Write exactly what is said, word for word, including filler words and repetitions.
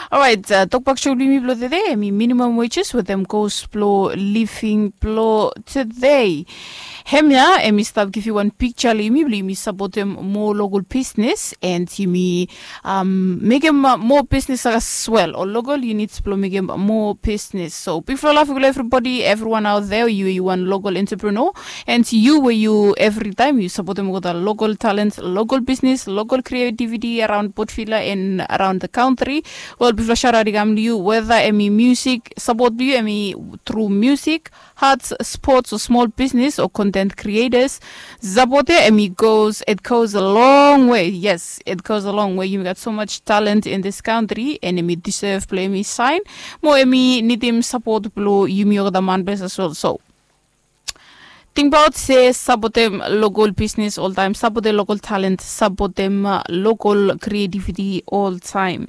Orait, tokbak sho blong yumi blong tede em i minimum wages wetem kos blong living blong tede. Hemia em i stap givim wan piksa long yumi blong yumi sapotem moa lokal bisnes and yumi mekim moa bisnes as wel o lokal units blong mekim moa bisnes. So bigfala lafik long evribodi, evriwan aut there, yu yu wan lokal entrepreneur and yu we yu evritaim yu sapotem olgeta lokal talent, lokal bisnes, lokal kreativiti araon Port Vila and araon the country. Wel, bifala sharat i kam long yu weda em i musik, sapot blong yu em i tru musik, arts, sports o smol bisnes o content creators. Sapot ya em i goes, it goes a long way. Yes, it goes a long way. Yumi gat so much talent in this country and em i deserve blong em i sain mo em i nidim sapot blong yumi olgeta man ples as well. So tingbaot se sapotem lokal bisnes oltaim, sapotem lokal talent, sapotem lokal kreativiti oltaim.